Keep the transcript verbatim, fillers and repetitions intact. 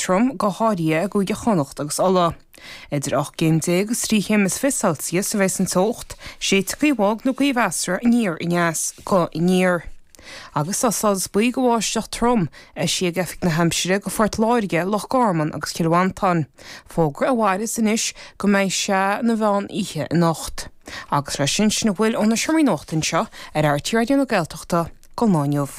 trom, go háirithe i gCúige Chonnacht agus Uladh. Idir ocht gcéim déag agus trí chéim is fiche Celsius a bheas an teocht, séidfidh gaoth bhog nó gaoth mheasartha aniar aneas go aniar. Agus tá stádas buí do bháisteach trom eisithe ag Oifig na hAimsire do Phort Láirge, Loch Garman agus Cill Mhantáin, fógra a mhairfeas anois go mbeidh sé ina mheán oíche anocht. Agus leis sin, sin a bhfuil ó na seomraí nuachta anseo ar RTÉ Raidió na Gaeltachta don lá inniu.